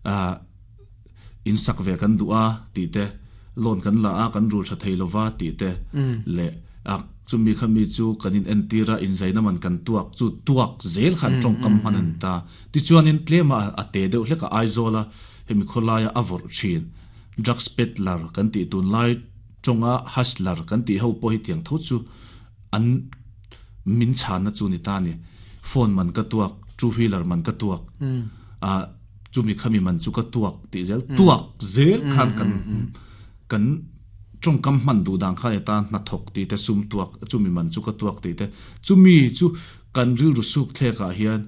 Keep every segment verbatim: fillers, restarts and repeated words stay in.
A in sak ve kan du a ti te loan kan la a kan rul tha thei lova ti te le a chumi khami chu kanin entira in zaina man kan tuak chu tuak zel khan tong kam hanan ta ti chuan in tlema a te deuh hleka Aizola hemi kholaya avor thin drugs peddler kan ti tun lai tonga hustler kan ti ho po hi tiang tho chu an min chan na chu ni ta ni phone man ka tuak two wheeler man ka tuak a chumi khami man chu ka tuak ti zel tuak zel khan kan kan trong kam man du dang kha ta na thok ti te sum tuak chumi man chu ka tuak ti te chumi chu kan ril ru suk the ka hian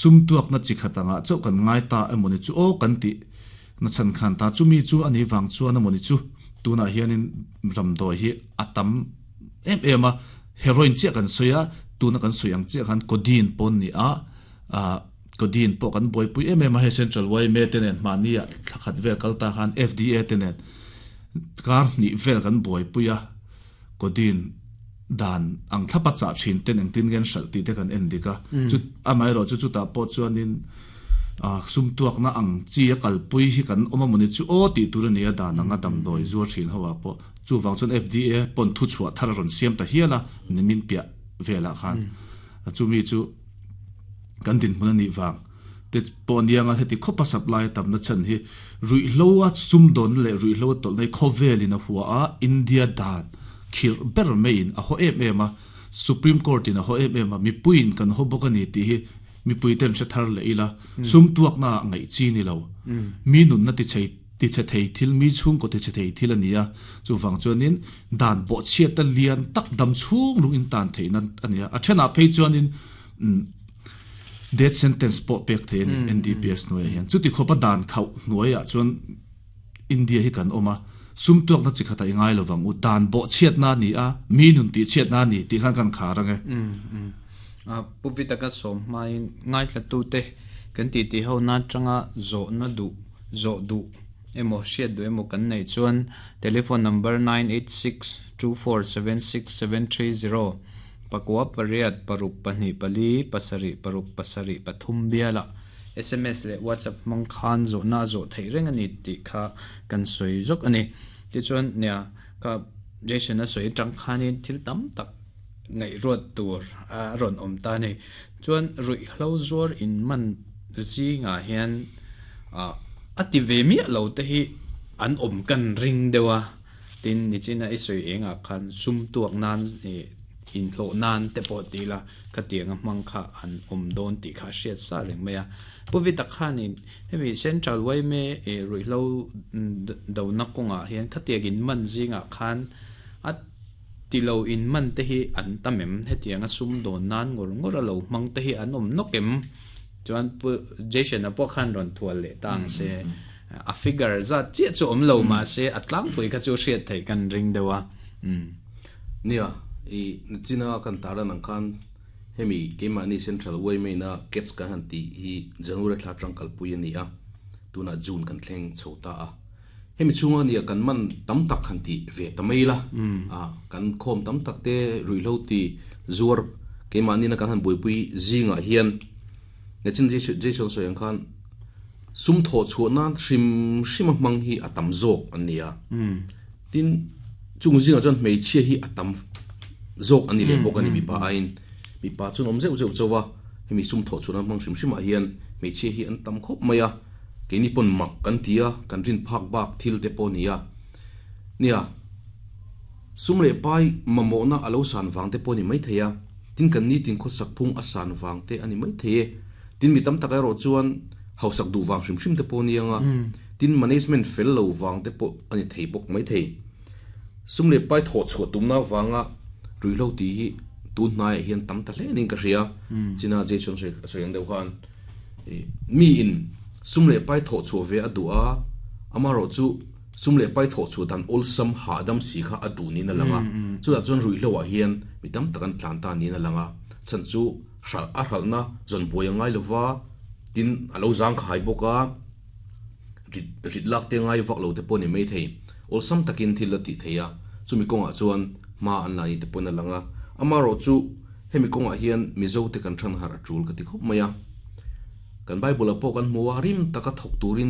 sum tuak na chi khatanga cho kan ngai ta emoni chu o kan ti na chan khan ta chumi chu ani wang chu ana moni chu tuna hianin ramdoi hi atam em em a heroin che kan soya tuna kan soyang che khan codeine pon ni a a codeine po kan boi pui em em a he central way me tenen mania thakhat ve kalta khan F D A tenen kar ni vel kan boi puya codeine dan ang thapa cha thin ten eng tin gen sal ti te kan en dika chu amai ro chu chu ta po chuanin a sum tuak na ang chi a kal pui hi kan oma moni chu o ti tur ani a dan anga dam doi zuar thin hawa po chu wang chun F D A pon thu chua thar ron siam ta hiala nimin pia vela khan chu mi chu kan din mun ani wang te pon yanga heti khopa supply tam na chan hi rui hlowa sum don le rui hlo tol nei khovelin a huwa a India dan khir ber mein a ho em em a Supreme Court in a ho em em a mi puin kan ho bokani ti hi mi pui ten se thar le ila sum tuak na ngai chi ni lo mi nun na ti chei ti che thei thil mi chung ko ti che thei thil ania chu wang chuanin dan bo chiat ta lian tak dam chung lung in tan thei nan ania a thena phei chuanin death sentence po pek thei ni N D P S noi hian chuti khopa dan khau noya chuan India hi kan oma sum tuak na chikhata ingai lowang u dan bo chiat na ni a mi nun ti chiat na ni ti khan kan kharange a puvita ka som mai ngai thla tu te kan ti ti ho na changa zo na du zo du emo hriat du emo kan nei chuan telephone number nine eight six two four seven six seven three zero pakwa pariat paruk pahnih pali pasarih paruk pasarih pathum biala S M S le WhatsApp mang khan zo na zo thei reng ani ti kha kan soi zok ani ti chuan nia ka Jason a soi tang khanin thil tam tak ngai ruat tur a ron om ta ni chuan rui hlo zuar in man chi nga hian a ati ve mi lo te hi an om kan ring dewa tin ni china i soi enga khan sum tuak nan e in hlo nan te po ti la khatianga mang kha an om don ti kha hriat sa reng maya puvita khanin hemi central way me e rui hlo do na konga hian khatiagin man zinga khan at tilo in man te hi an tamem hetianga sum don nan ngor ngor lo mang te hi an om nokem chuan pu Jason a po khan ron thual le tang se a figure za che chu om lo ma se atlang pui kha chu hriat thei kan ring dewa um nia i china kan tara nang khan hemi kema ni central way me na kets ka han ti hi January thla tang kal pui ani a tuna June kan thleng chhota a hemi chunga nia kan man tam tak khan ti ve tamaila a kan khom tam tak te ruihlo ti zuar kema ni na kan han buipui zinga hian ne chin Jason soyang khan sum tho chu na hrim hrim mang hi atam zok ania tin chung zinga chuan hmeichhia hi atam zok ani le bok ani mi pa ain mi pa chun om zeu zeu chawa hemi sum tho chu na mang hrim hrim a hian hmeichhia hi an tam khop maya keini pon mak kan tia kan rin phak bak thil te pawh nia nia sum le pai mamo na alo san wang te pawh ni mai theia tin kan ni tin khaw sak phung a san wang te ani mai thei tin mi tam tak ero chuan hausak du wang hrim hrim te pawh nianga tin management fel lo wang te pawh ani thei bawk mai thei sum le pai tho chu tum na wanga ruihlo ti hi tun hnai hian tam ta hle ning ka hria china Jason se soyang deuh khan mi in sum le pai tho chu ve adua amaro chu sum le pai tho chu dan ol sam ha dam si kha adu ni na langa chu da chuan ruihlo ah hian mi tam takan tlan ta ni na langa chan chu hral a hral na zon boi ngai lova tin alo zang khai boka rit rit lak te ngai vak lo te pawh ni mai thei ol sam takin thil la ti theia chumi kawngah chuan ma an la ni te pawh na langa amaro chu hemi kawngah hian mizo te kan than har a tul ka ti khawp mai a kan Bible a pawh kan hmu a rim taka thawk turin